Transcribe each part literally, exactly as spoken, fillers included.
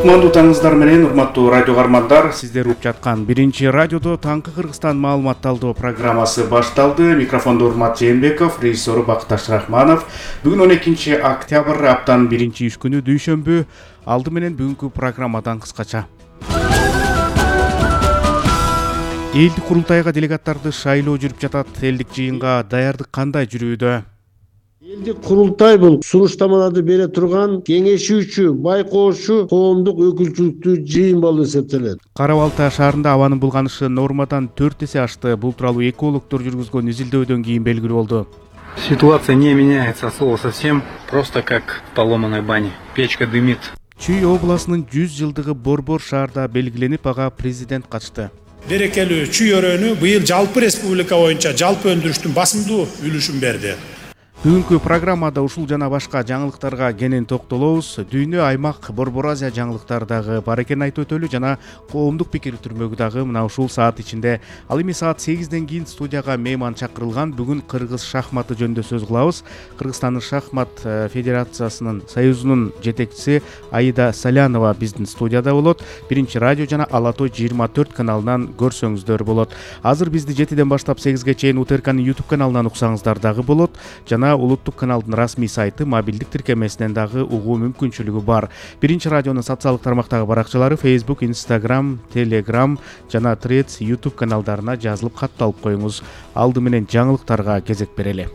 Кутмандуу таңыңыздар менен, урматтуу радио каармандар, сиздер угуп жаткан биринчи радиодо таңкы Кыргызстан маалымат талдоо программасы башталды. Микрофондо Урмат Жээнбеков, режиссеру Бакташ Рахманов. Бүгүн он экинчи октябрь, аптанын биринчи иш күнү, дүйшөмбү. Алды менен бүгүнкү программадан кыскача. Элдик курултайга делегаттарды шайлоо жүрүп жатат. Элдик жыйынга даярдык кандай жүрүүдө? Элдик курултай бул сунуштамаларды бере турган кеңешүүчү, байкоочу коомдук өкүлчүлүктүү жыйын болуп эсептелет. Кара Балта шаарында абанын булганышы нормадан төрт эсе ашты. Бул тууралуу экологдор жүргүзгөн изилдөөдөн кийин белгилүү болду. Ситуация не меняется от слова совсем, просто как в поломанной бане. Печка дымит. Чүй областынын жүз жылдыгы Борбор шаарда белгиленип, ага президент катышты. Берекелүү чүй өрөөнү быйыл жалпы республика боюнча жалпы өндүрүштүн басымдуу үлүшүн берди. Бүгүнкү программада ушул жана башка жаңылыктарга кенен токтолобуз. Дүйнө, аймак, Борбор Азия жаңылыктары дагы бар экенин айтып өтөлү, жана коомдук пикир түрмөгү дагы мына ушул саат ичинде. Ал эми саат сегизден кийин студияга мейман чакырылган. Бүгүн кыргыз шахматы жөнүндө сөз кылабыз. Кыргызстандын шахмат федерациясынын союзунун жетекчиси Аида Салянова биздин студияда болот. Биринчи радио жана Ала Той жыйырма төрт каналынан көрсөңүздөр болот. Азыр бизди жетиден баштап сегизге чейин УТРКнын YouTube каналынан уксаңыздар дагы болот. Жана улуттук каналдын расмий сайты, мобилдик тиркемесинен дагы угуу мүмкүнчүлүгү бар. Биринчи радионун социалдык тармактагы баракчалары Facebook, Instagram, Telegram жана Threads YouTube каналдарына жазылып катталып коюңуз. Алды менен жаңылыктарга кезек берели.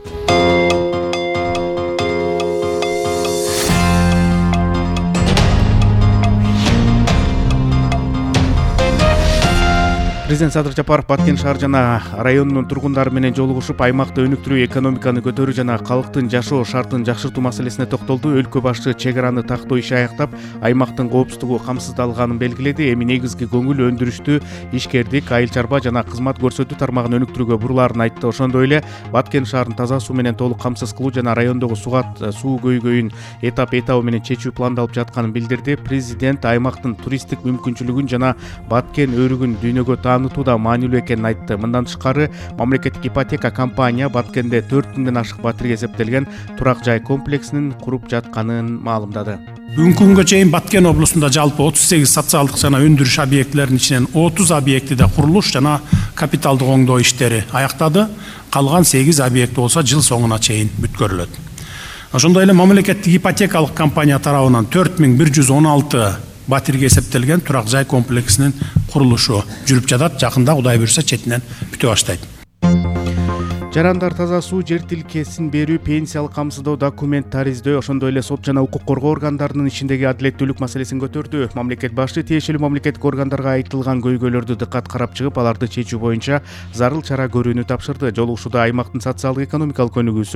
Президент Садыр Жапаров Баткен шаар жана районунун тургундары менен жолугушуп, аймакты өнүктүрүү, экономиканы көтөрүү жана калктын жашоо шартын жакшыртуу маселесине токтолду. Өлкө башы чек араны тактоо иши аяктап, аймактын коопсуздугу камсыздалганын белгиледи. Эми негизги көңүл өндүрүштү, ишкердик, айыл чарба жана кызмат көрсөтүү тармагын өнүктүрүүгө бурулаарын айтты. Ошондой эле Баткен шаарын таза суу менен толук камсыз кылуу жана райондогу сугат суу көйгөйүн этап этабы менен чечүү пландалып жатканын билдирди. Президент аймактын туристтик мүмкүнчүлүгүн жана Баткен өрүгүн дүйнөгө таанытууда маанилүү экенин айтты. Мындан тышкары, мамлекеттик ипотека компания Баткенде төрт миңден ашык батирге эсептелген турак жай комплексинин куруп жатканын маалымдады. Бүгүнкү күнгө чейин Баткен облусунда жалпы отуз сегиз социалдык жана өндүрүш объектилеринин ичинен отуз объектиде курулуш жана капиталдык оңдоо иштери аяктады. Калган сегиз объекти болсо жыл соңуна чейин бүткөрүлөт. Ошондой эле мамлекеттик ипотекалык компания тарабынан төрт миң бир жүз он алты батирге эсептелген турак жай комплексинин курулушу жүрүп жатат. Жакында Кудай буйрса четинен бүтө баштайт. Жарандар таза суу, жер тилкесин берүү, пенсиялык камсыздоо, документ тариздөө, ошондой эле сот жана укук коргоо органдарынын ишиндеги адилеттүүлүк маселесин көтөрдү. Мамлекет башы тиешелүү мамлекеттик органдарга айтылган көйгөйлөрдү дыккат карап чыгып, аларды чечүү боюнча зарыл чара көрүүнү тапшырды. Жолугушууда аймактын социалдык экономикалык өнүгүүсү,